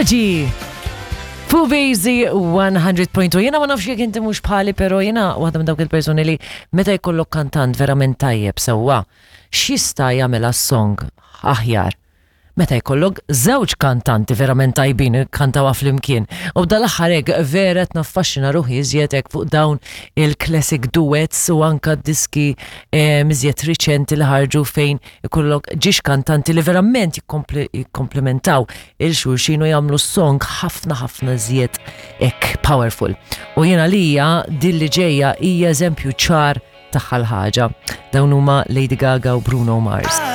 Apology! Fuq 100.2. Jena ma nafx jekk inti mhux bħali, però jena waħda minn dawk il-persuni li meta jkollok kantant verament tajjeb sewwa, x'jista' jagħmilha song aħjar? Meta jkollok żewġ kantanti verament tajbin kantawha flimkien. U dal-aħħar hekk vera qed naffaxxina ruħi iżjed hekk fuq dawn il-classic duets u anka diski iżjed riċenti li ħarġu fejn ikollok ġiex kantanti li verament jikkomplementaw 'il xulxin u jagħmlu song ħafna ħafna iżjed hekk powerful. U jiena lija din li ġejja hija eżempju ċar tagħha l-ħaġa. Dawn huma Lady Gaga u Bruno Mars.